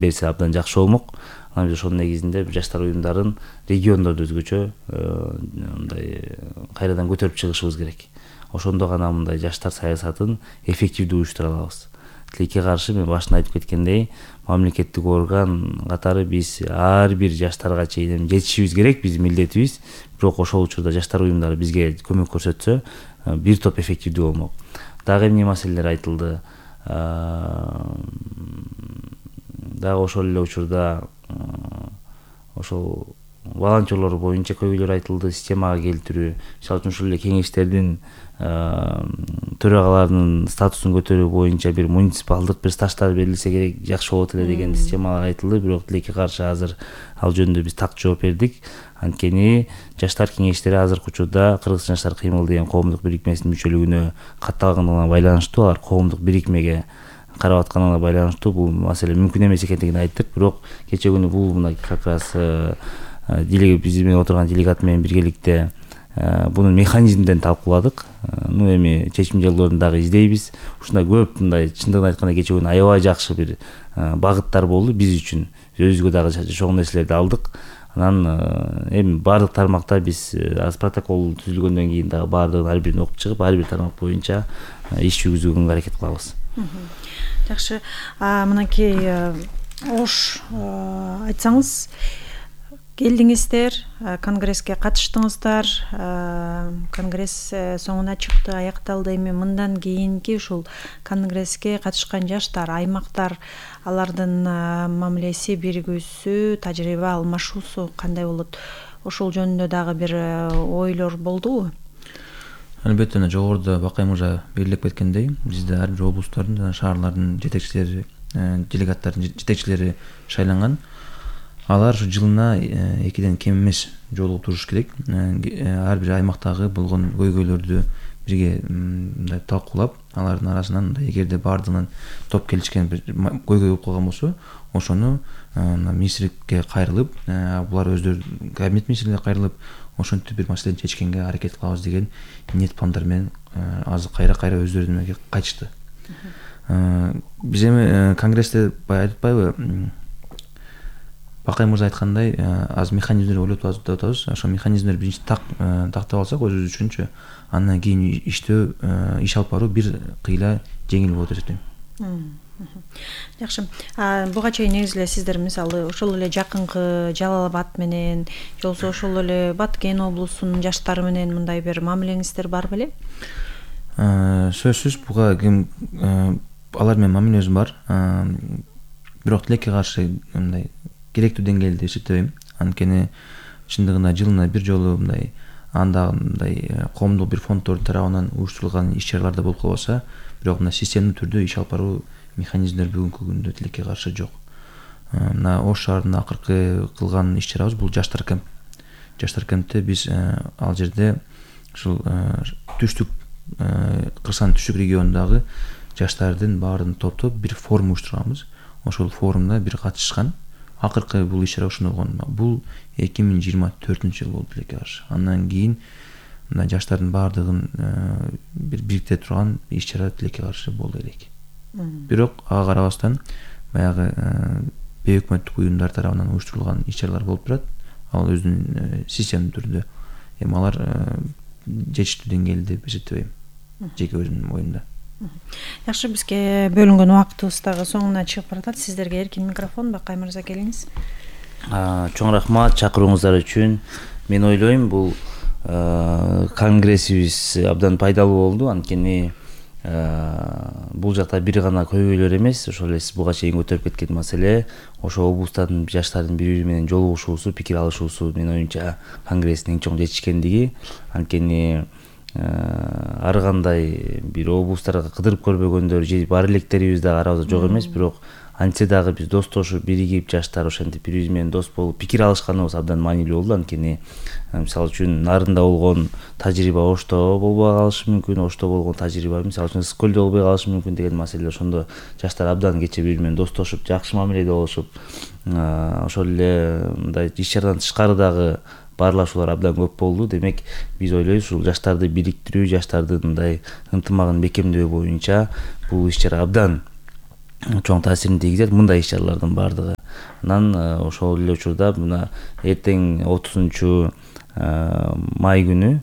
берсе абдан жакшы болмок. Анан биз ошонун негизинде жаштар уюмдарын региондордо өзгөчө мындай кайрадан көтөрүп чыгышыбыз керек. Ошондо гана мындай жаштар саясатын эффективдүү уюштура алабыз. Тилекке каршы мен башында айтып кеткендей, мамлекеттик орган катары биз ар бир жаштарга чейин жетишибиз керек, биздин милдетибиз. Бирок ошол учурда жаштар уюмдары бизге көмөк көрсөтсө, бир топ эффективдүү болмок. Дагы эмне маселелер айтылды? Дагы ошол эле учурда ошол волонтерлор боюнча көйгөйлөр айтылды, системага келтирүү. Мисалы үчүн ушул эле кеңештердин төрагаларынын статусун көтөрүү боюнча бир муниципалдык бир стаждар берилсе керек, жакшы болот эле деген системалар айтылды. Бирок тилекке каршы азыр ал жөнүндө биз так жооп бердик. Анткени жаштар кеңештери азыркы учурда Кыргызстан жаштар кыймыл деген коомдук бирикмесинин мүчөлүгүнө катталганына байланыштуу, алар коомдук бирикмеге карап атканына байланыштуу бул маселе мүмкүн эмес экендигин айттык. Бирок кече күнү бул мына как раз биз менен отурган делегат менен биргеликте бунун механизмдерин талкууладык. Эми чечим жолдорун дагы издейбиз. Ушундай көп мындай чындыгын айтканда кече күнү аябай жакшы бир багыттар болду биз үчүн. Өзүбүзгө дагы чоң нерселерди алдык. Анан эми баардык тармакта биз протокол түзүлгөндөн кийин дагы баардыгын ар бирин окуп чыгып, ар бир тармак боюнча иш жүргүзүүгө аракет кылабыз. Жакшы. Мынакей ош айтсаңыз, келдиңиздер, конгресске катыштыңыздар, конгресс соңуна чыкты, аякталды. Эми мындан кийинки ушул конгресске катышкан жаштар, аймактар, алардын мамилеси, биригүүсү, тажрыйба алмашуусу кандай болот? Ошол жөнүндө дагы бир ойлор болдубу? Албетте, жогоруда Бакай мырза белгилеп кеткендей, бизде ар бир облустардын жана шаарлардын жетекчилери, делегаттардын жетекчилери шайланган. Алар жылына 2ден кем эмес жолугуп туруш керек. Ар бир аймактагы болгон көйгөйлөрдү бирге мындай талкуулап, алардын арасынан эгерде баардыгынан топ келишкен бир көйгөй болуп калган болсо, ошону министрликке кайрылып, булар өздөрү кабинет министрлигине кайрылып, ошентип бир маселени чечкенге аракет кылабыз деген ниет пландар менен азыр кайра өздөрүнүн эмеге кайтышты. Биз эми конгрессте баягы айтпайбы, Бакай мырза айткандай, аз механизмдер ойлоп атабыз. Ошол механизмдер биринчи тактап алсак өзүбүз үчүнчү, андан кийин иштөө, иш алып баруу бир кыйла жеңил болот деп эсептейм. Жакшы. Буга чейин негизи эле сиздер мисалы ошол эле жакынкы Жалал Абад менен, же болбосо ошол эле Баткен облусунун жаштары менен мындай бир мамилеңиздер бар беле? Сөзсүз буга алар менен мамилебиз бар. Бирок тилекке каршы мындай керектүү деңгээлде эсептебейм. Анткени чындыгында жылына бир жолу мындай анда мындай коомдук бир фонддордун тарабынан уюштурулган иш-чараларда болуп калбаса, бирок мына системдүү түрдө иш алып баруу механизмдер бүгүнкү күндө тилекке каршы жок. Мына Ош шаарында акыркы кылган иш-чарабыз бул жаштар кемп. Жаштар кемпте биз ал жерде ушул түштүк Кыргызстандын түштүк регионундагы жаштардын баарын топтоп бир форум уюштурганбыз. Ошол форумда бир катышкан. Акыркы бул иш-чара ошондо болгон. Бул 2024-жыл болду тилекке каршы. Андан кийин мына жаштардын баардыгын бир бириктире турган иш-чара тилекке каршы болду элек. Бирок ага карабастан баягы бейөкмөттүк уюмдар тарабынан уюштурулган иш-чаралар болуп турат. Ал өзүнүн системдүү түрдө. Эми алар жетиштүү деңгээлде деп эсептебейм. Жеке өзүмдүн оюмда. Жакшы, бизге бөлүнгөн убактыбыз дагы соңуна чыгып баратат. Сиздерге эркин микрофон. Бакай мырза, келиңиз. Чоң рахмат чакырууңуздар үчүн. Мен ойлойм, бул конгрессибиз абдан пайдалуу болду. Анткени бул жакта бир гана көйгөйлөр эмес, ошол эле сиз буга чейин көтөрүп кеткен маселе, ошо облустардын жаштардын бири-бири менен жолугушуусу, пикир алышуусу менин оюмча конгресстин эң чоң жетишкендиги. Анткени ар кандай бир облустарга кыдырып көрбөгөндөр же бар электерибиз дагы арабызда жок эмес, бирок антсе дагы биз достошуп, биригип, жаштар ошентип бири-бири менен дос болуп пикир алышканыбыз абдан маанилүү болду. Анткени мисалы үчүн нарында болгон тажрыйба Ошто болбой калышы мүмкүн, Ошто болгон тажрыйба мисалы үчүн Скөлдө болбой калышы мүмкүн деген маселе. Ошондо жаштар абдан кече бири менен достошуп, жакшы мамиледе болушуп, ошол эле мындай иш-чарадан тышкары дагы баарлашуулар абдан көп болду. Демек, биз ойлойбуз, ушул жаштарды бириктирүү, жаштардын мындай ынтымагын бекемдөө боюнча бул иш-чара абдан чоң таасирин тийгизет мындай иш чаралардын баардыгы. Анан ошол эле учурда мына эртең 30 май күнү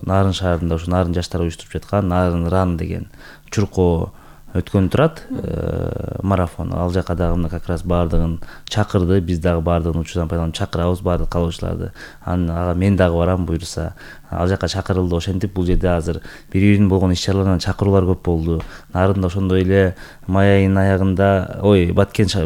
Нарын шаарында ушу Нарын жаштары уюштуруп жаткан Нарын ран деген чуркоо өткөн турат, марафон. Ал жака дагы мына как раз баардыгын чакырды, биз дагы баардыгын учурдан пайдаланып чакырабыз баардык калоочуларды. Ага мен дагы барам буюрса. Ал жака чакырылды. Ошентип бул жерде азыр бири-бирин болгон иш чаралардан чакыруулар көп болду. Нарында ошондой эле май айынын аягында,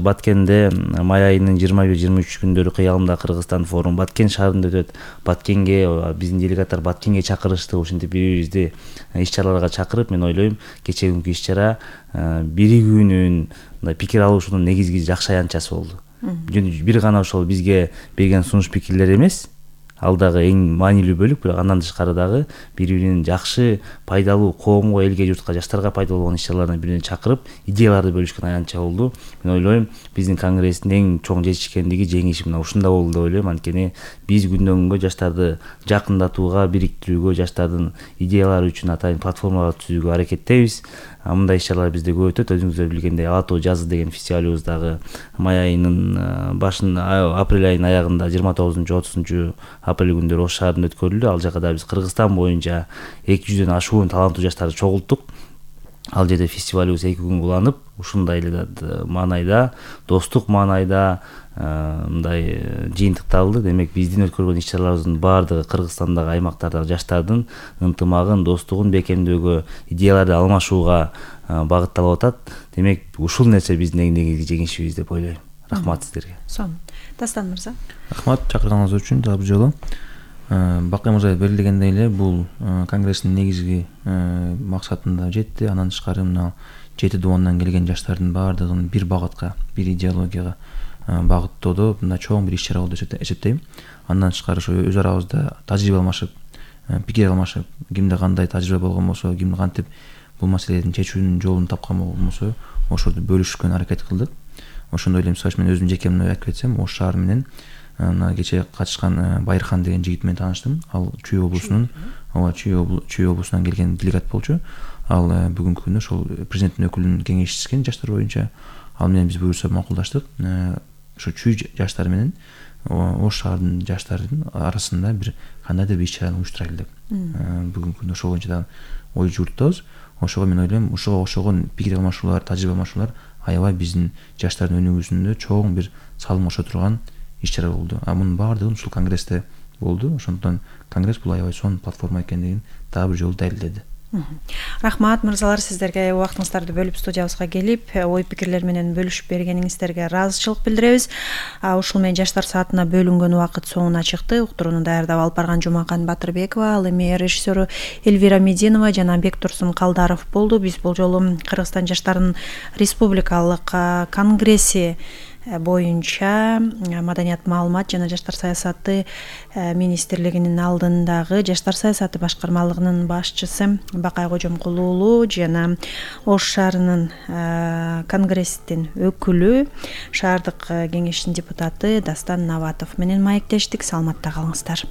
Баткенде май айынын 21-23 күндөрү кыялымда Кыргызстан форум Баткен шаарында өтөт. Баткенге биздин делегаттар Баткенге чакырышты. Ошентип бири-бирибизди иш чараларга чакырып, мен ойлойм, кечээ күнкү иш чара биригүүнүн, мындай пикир алышуунун негизги жакшы аянтчасы болду. Бир гана ошол бизге берген сунуш пикирлер эмес, ал дагы эң маанилүү бөлүк, бирок андан тышкары дагы бири-биринин жакшы, пайдалуу коомго, элге, журтка, жаштарга пайдалуу болгон иш чаралардан бирине чакырып, идеяларды бөлүшкөн аянтча болду. Мен ойлойм, биздин конгресстин эң чоң жетишкендиги, жеңиши мына ушунда болду деп ойлойм. Анткени биз күндөн күнгө жаштарды жакындатууга, бириктирүүгө, жаштардын идеялары үчүн атайын платформалар түзүүгө аракеттейбиз. Мындай иш чаралар бизде көп өтөт. Өзүңүздөр билгендей Ала тоо жазы деген фестивалыбыз дагы май айынын башында, апрель айынын аягында 29-30 апрель күндөрү Ош шаарында өткөрүлдү. Ал жака да биз Кыргызстан боюнча 200дөн ашуун таланттуу жаштарды чогулттук. Ал жерде фестивалыбыз 2 күн уланып, ушундай эле маанайда, достук маанайда мындай жыйынтыкталды. Демек биздин өткөргөн иш чараларыбыздын баардыгы Кыргызстандагы аймактардагы жаштардын ынтымагын, достугун бекемдөөгө, идеяларды алмашууга багытталып атат. Демек ушул нерсе биздин эң негизги жеңишибиз деп ойлойм. Рахмат сиздерге. Сонун. Дастан мырза. Рахмат чакырганыңыз үчүн дагы бир жолу. Бакый мырза белгилегендей эле бул конгресстин негизги максатына жетти. Андан тышкары мына 7 дубандан келген жаштардын баардыгын бир багытка, бир идеологияга багыттоодо мына чоң бир иш чара болду деп эсептейм. Андан тышкары ошо өз арабызда тажрыйба алмашып, пикир алмашып, кимде кандай тажрыйба болгон болсо, ким кантип бул маселенин чечүүнүн жолун тапкан болсо, ошорду бөлүшкөнгө аракет кылдык. Ошондой эле мисалы үчүн мен өзүм жеке айтып кетсем, Ош шаар менен мына кечээ катышкан Байырхан деген жигит менен тааныштым. Ал Чүй облусунун, Чүй облусунан келген делегат болчу. Ал бүгүнкү күндө ошол президенттин өкүлүнүн кеңешчиси жаштар боюнча. Ал менен биз буюрса макулдаштык. Ошо Чүй жаштары менен Ош шаарынын жаштарынын арасында бир кандайдыр бир иш чараны уюштурайлы деп. Бүгүнкү күндө ошол боюнча да ой жууртабыз. Ошого мен ойлойм, ошого окшогон пикир алмашуулар, тажрыйба алмашуулар аябай биздин жаштардын өнүгүүсүндө чоң бир салым кошо турган иш чара болду. Мунун баардыгы ушул конгрессте болду. Ошондон конгресс бул аябай сонун платформа экендигин дагы бир жолу далилдеди. Рахмат мырзалар, сиздерге убактыңыздарды бөлүп студиябызга келип, ой пикирлер менен бөлүшүп бергениңиздерге ыраазычылык билдиребиз. Ушул менен жаштар саатына бөлүнгөн убакыт соңуна чыкты. Уктурууну даярдап алып барган Жумакан Батырбекова, ал эми режиссеру Эльвира Мединова жана Бектурсун Калдаров болду. Биз бул жолу Кыргызстан жаштарынын республикалык конгресси боюнча Маданият, маалымат жана жаштар саясаты министрлигинин алдындагы жаштар саясаты башкармалыгынын башчысы Бакай Кожомкул уулу жана Ош шаарынын конгресстин өкүлү, шаардык кеңештин депутаты Дастан Наватов менен маектештик. Саламатта калыңыздар.